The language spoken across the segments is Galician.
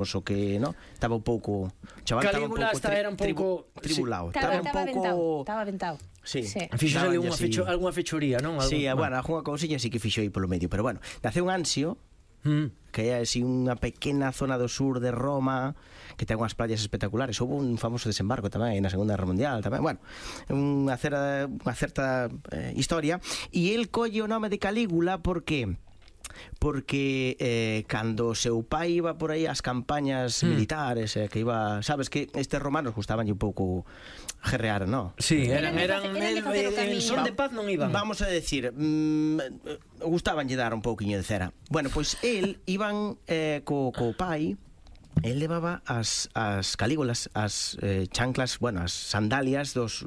o que, no, estaba un pouco, o chaval Calígula era un pouco tribulado, Estaba aventado. Sí. Fixo ali algunha fechoría, non? Sí, bueno, algunha cousiña sí que fixo aí polo medio, pero bueno, nace un Ansio, que é así unha pequena zona do sur de Roma que ten unhas playas espectaculares. Houve un famoso desembarco tamén na Segunda Guerra Mundial tamén, bueno, unha certa historia, e el colle o nome de Calígula porque cando o seu pai iba por aí ás campañas militares, que iba, sabes que estes romanos gustabanlle un pouco gerrear, non? Sí, eran en son de paz non iban. Vamos a decir, gustabanlle dar un pouquiño de cera. Bueno, pois iban co pai. El levaba as calígulas, as chanclas, bueno, as sandalias dos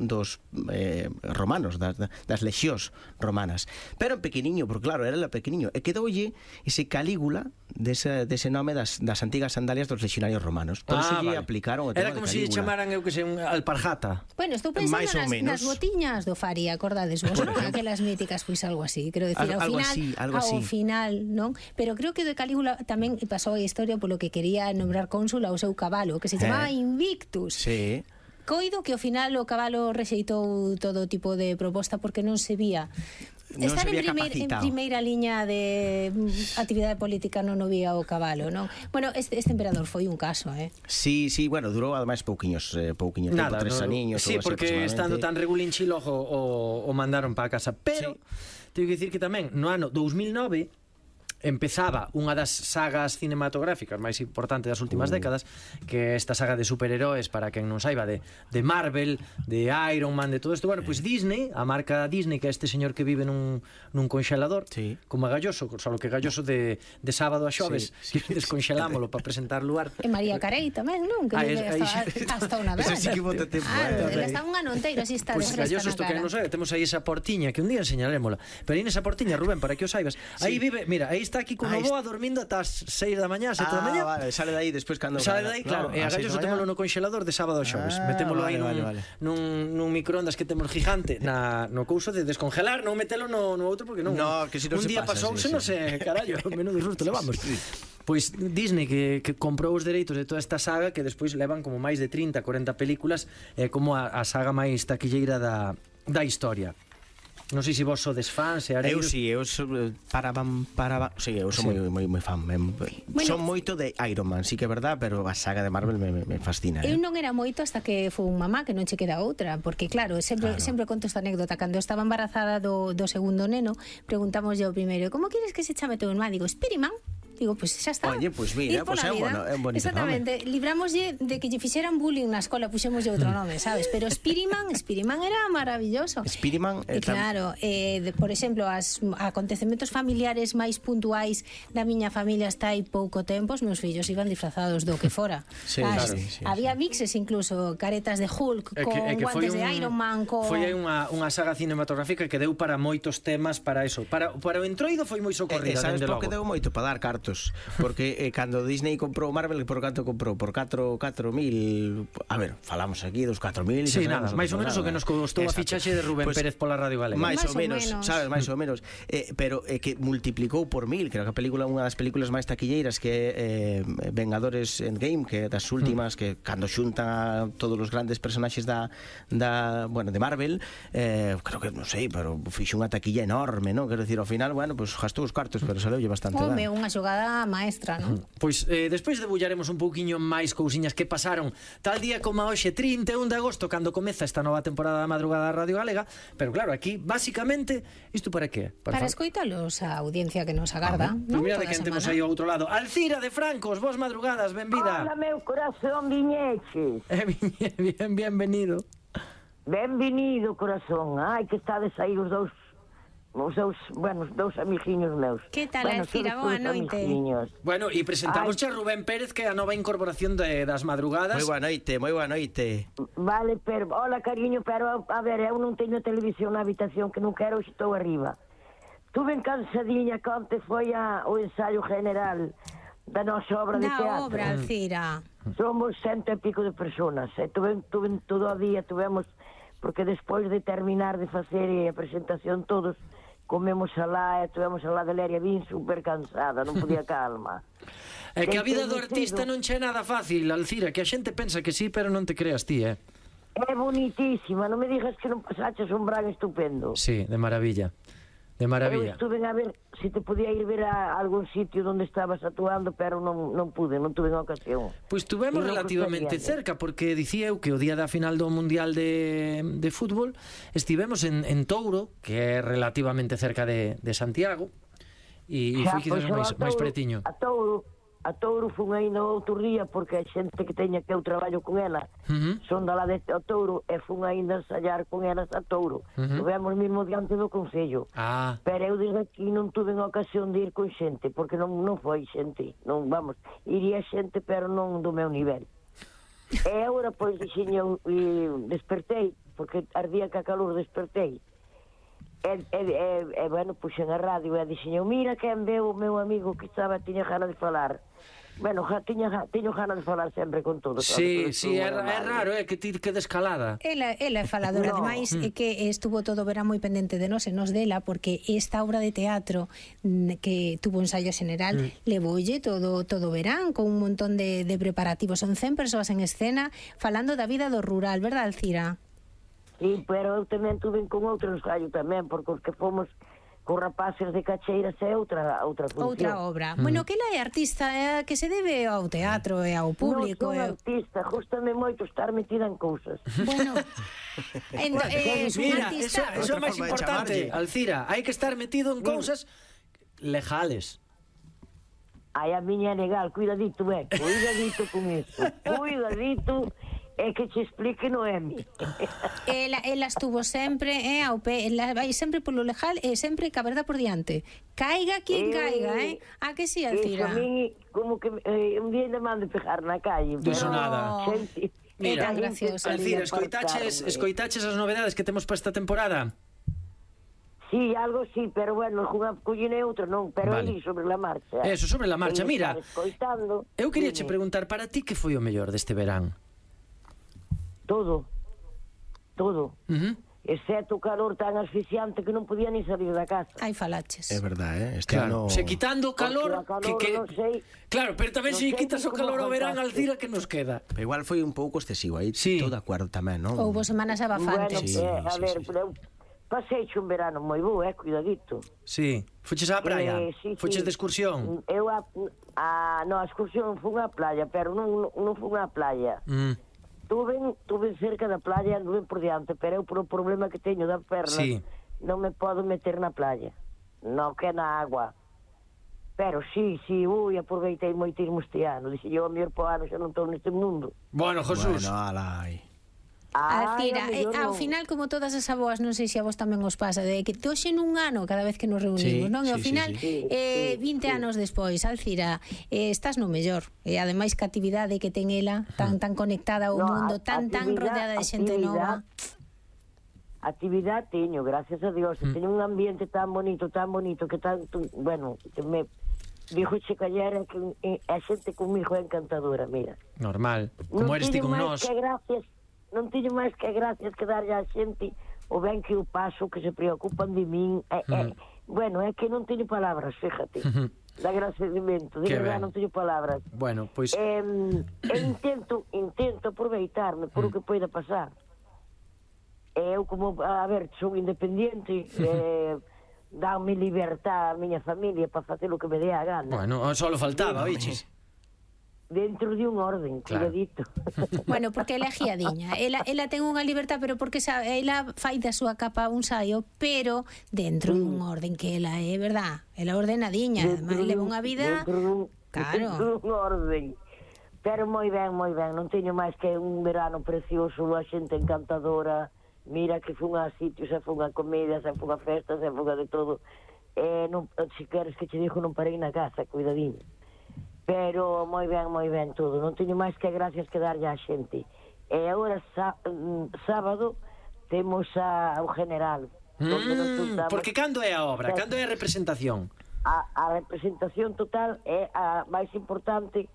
romanos, das lexións romanas, pero en pequeniño, porque claro, era pequeniño, e quedoulle ese Calígula dese nome das antigas sandalias dos lexionarios romanos. Por eso lle aplicaron o tema era como de se Calígula. chamaran, eu que sei, un alparjata. Bueno, estou pensando nas botiñas do Fari, acordades vos, non? Aquelas míticas, pois algo así, quero decir, ao final, non? Pero creo que de Calígula tamén pasou a historia polo que quería nombrar cónsul ao seu cabalo, que se chamaba Invictus. Sí. Coido que ao final o cabalo rexeitou todo tipo de proposta porque non se vía. Estar en primeira liña de actividade política non o vía o cabalo, non? Bueno, este emperador foi un caso, Sí, bueno, durou ademais pouquiños tempo, 3 aniños. Sí, porque estando tan regulinchilo o mandaron para casa. Pero, teño que dicir que tamén no ano 2009 empezaba unha das sagas cinematográficas máis importantes das últimas décadas, que é esta saga de superheróis, para quen non saiba, de Marvel, de Iron Man, de todo isto. Bueno, pois Disney, a marca Disney, que é este señor que vive nun conxelador, como a Galloso, solo que Galloso de sábado a xoves, que desconxelámolo para presentar lugar. E María Carey tamén, non? Que hasta unha vez. Eso sí que bota tempo. Está un ano inteiro, así está de fresca na cara. Pois Galloso, isto que non sabe, temos aí esa portiña, que un día enseñarémola, pero aí nesa portiña, Rubén, para que o saibas, aí vive, mira, aí está aquí con Novoa dormindo ata as 6 da mañá, 7 da mañá. Vale, sale de aí despois cando sale de aí, claro, e a Galloso témolo no conxelador de sábado a xoves. Metémolo aí nun microondas que temos gigante no couso de descongelar, non metelo no outro porque non. No, que si non se pasa. Un día pasouse, non sei, carallo, menudo susto levamos. Pois Disney que comprou os dereitos de toda esta saga, que despois levan como máis de 30, 40 películas, como a saga máis taquilleira da historia. Non sei se vos sodes fans e areiros. Eu sou sí, eu sou moi fan. Son moito de Iron Man, sí que é verdad, pero a saga de Marvel me fascina. Eu non era moito hasta que foi un mamá, que non che queda outra, porque claro, sempre conto esta anécdota. Cando estaba embarazada do segundo neno, preguntámoslle ao primeiro: como queres que se chame teu irmán? Digo, Spiderman. Digo, pois xa está. Oye, pois mira, pois é un bonito exactamente, nome. Librámoslle de que lle fixeran bullying na escola, puxémoslle outro nome, sabes? Pero Spiderman era maravilloso. Spiderman, claro, por exemplo, os acontecementos familiares máis puntuais da miña familia está aí pouco tempo, os meus fillos iban disfrazados do que fora. Sí, claro. Había mixes incluso, caretas de Hulk con guantes de Iron Man. Foi aí unha saga cinematográfica que deu para moitos temas, para eso. Para o entroido foi moi socorrida, sabes por que deu moito? Para dar cartos. Porque cando Disney comprou Marvel, por canto comprou? Por 4.000, a ver, falamos aquí dos 4.000. Sí, nada, máis ou menos o que nos costou a fichaxe de Rubén Pérez pola Radio Galega. Máis ou menos, sabes, máis ou menos. Pero que multiplicou por 1000, creo que a película unha das películas máis taquilleiras, que é Vengadores Endgame, que é das últimas, que cando xuntan a todos os grandes personaxes de Marvel, creo que, non sei, pero fixo unha taquilla enorme, non? Quero dicir, ao final, bueno, pues gastou os cartos, pero saloulle bastante ben. Unha xogada maestra, non? Pois despois debullaremos un pouquiño máis cousiñas que pasaron tal día como hoxe, 31 de agosto, cando comeza esta nova temporada da Madrugada da Radio Galega. Pero claro, aquí, basicamente, isto para que? Para escoitalos a audiencia que nos agarda, non? Mira de quen temos aí ao outro lado. Alcira de Francos, vos madrugadas, benvida. Hola, meu corazón, viñeches. Bienvenido. Benvenido, corazón. Ai, que estades aí os dous amiguiños meus. Que tal, Alcira? Boa noite. Bueno, e presentamos a Rubén Pérez, que é a nova incorporación das madrugadas. Moi boa noite. Vale, pero, hola, cariño, pero, a ver, eu non teño televisión na habitación, que non quero, estou arriba. Tuve cansadinha, que onte foi o ensaio general da nosa obra de teatro. Da obra, Alcira. Somos 100 e pico de personas, tuve todo o día, porque despois de terminar de facer a presentación todos, comemos alá, estivemos alá de Leria, vin super cansada, non podía calma. É que a vida do artista non che é nada fácil, Alcira, que a xente pensa que sí, pero non te creas ti, É bonitísima, non me digas que non pasaches un verán estupendo. Sí, de maravilla. De maravilla. Eu estuve a ver se te podía ir ver a algún sitio onde estabas actuando, pero non pude, non tuve ocasión. Pois tuvemos relativamente cerca, porque dicía eu que o día da final do Mundial de Fútbol estivemos en Touro, que é relativamente cerca de Santiago, e foi quizás máis pretiño. A Touro fun aí no outro día, porque a xente que teña que eu traballo con ela son da lá de Touro, e fun aí a ensayar con elas a Touro. Tivemos mesmo diante do Concello. Pero eu desde aquí non tuve a ocasión de ir con xente, porque non foi xente, non, vamos, iría xente, pero non do meu nivel. E agora, pois, dixen, despertei, porque ardía que a calor despertei. Bueno, puxen a radio e dixen, mira quen veu o meu amigo que tiña gana de falar. Bueno, teño gana de falar sempre con todo. Sí, é raro, que ti que descalada. Ela é faladora, ademais, é que estuvo todo o verán moi pendente de nós e nos dela, porque esta obra de teatro que tuvo ensayo general levoulle todo o verán, con un montón de preparativos. Son 100 persoas en escena falando da vida do rural, verdad, Alcira? Sí, pero eu tamén tuve con outro ensayo tamén, porque os que fomos con rapaces de Cacheiras é outra función. Outra obra. Bueno, que ela é artista, que se debe ao teatro e ao público. Non son artista, justame moito estar metida en cousas. Bueno, mira, eso é máis importante, Alcira, hai que estar metido en cousas legales. Ai, a miña é legal, cuidadito con iso. Cuidadito. É que te explique, Noemi. Ela estuvo sempre ao pé, ela vai sempre polo legal e sempre ca verdad por diante. Caiga quien caiga, a que si, Alcira? Eso a mí, como que un día ainda mando pegar na calle. Diso nada. Mira, graciosa. Alcira, escoitaches as novedades que temos para esta temporada? Sí, algo sí, pero bueno, collene outro non, pero vale. Sobre la marcha. Eso, sobre la marcha, mira. Eu quería che preguntar, para ti que foi o mellor deste verán? Todo. Exceto o calor tan asfixiante que non podía ni salir da casa. Ai, falaches. É verdade, claro, se quitando o calor, non sei. Claro, pero tamén se quitas o calor ao verán, Alcira, que nos queda? Pero igual foi un pouco excesivo aí, estou de acordo tamén, non? Houbo semanas abafantes. Bueno, a ver, pasei un verano moi bo, cuidadito. Sí, fuches á praia? Fuches de excursión? Eu a excursión fui á playa, pero non fui á playa. Tuve cerca da playa, anduve por diante, pero eu por o problema que teño da perna non me podo meter na playa, non que na agua. Pero sí, aproveitei moitísimo este ano. Dixen eu, a mellor po ano xa non estou neste mundo. Bueno, Jesús. Bueno, alai. Alcira, ao final, como todas as aboas, non sei se a vos tamén os pasa, de que toxe nun ano cada vez que nos reunimos, non? E ao final, 20 anos despois, Alcira, estás no mellor. E ademais que a actividade que ten ela, tan conectada ao mundo, tan rodeada de xente nova. Actividade teño, gracias a Dios. Teño un ambiente tan bonito, que tanto, bueno, que me dijo che callera que a xente comigo é encantadora, mira. Normal, como eres ti con nós. Non teño máis que gracias que darlle a xente o ben que eu paso, que se preocupan de min. Bueno, é que non teño palabras, fíjate. De agradecemento, de verdade non teño palabras. Bueno, pois... intento aproveitarme por o que poida pasar. Eu como, a ver, son independiente, danme libertad a miña familia para facer o que me dé a gana. Bueno, só lo faltaba, biches. Dentro de un orden, cuidadito. Bueno, porque ela é giadiña. Ela ten unha libertad, pero porque ela fai da súa capa un saio, pero dentro dun orden que ela é, verdad? Ela ordenadiña, además leva unha vida... Dentro dun orden. Pero moi ben. Non teño máis que un verano precioso, a xente encantadora. Mira que fun a sitios, se fun a comidas, se fun a festas, se fun a de todo. Se queres que che dixo, non parei na casa, cuidadiño. Pero moi ben todo. Non teño máis que gracias que darlle á xente. E agora sábado temos o general. Porque cando é a obra? Cando é a representación? A representación total é a máis importante,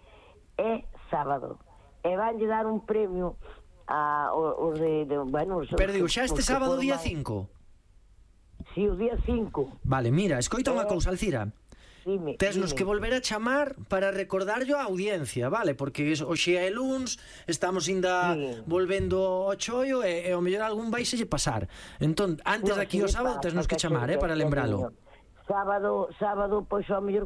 é sábado. E vanlle dar un premio a os de bueno, pero digo, xa este sábado día 5? sí, o día 5. Vale, mira, escoita unha cousa, Alcira. Tesnos que volver a chamar para recordarlo a audiencia, vale? Porque hoxe é luns, estamos ainda volvendo ao chollo e ao mellor algún vai se lle pasar. Entón, antes de aquí o sábado tesnos que chamar, para lembralo. Sábado, pois ao mellor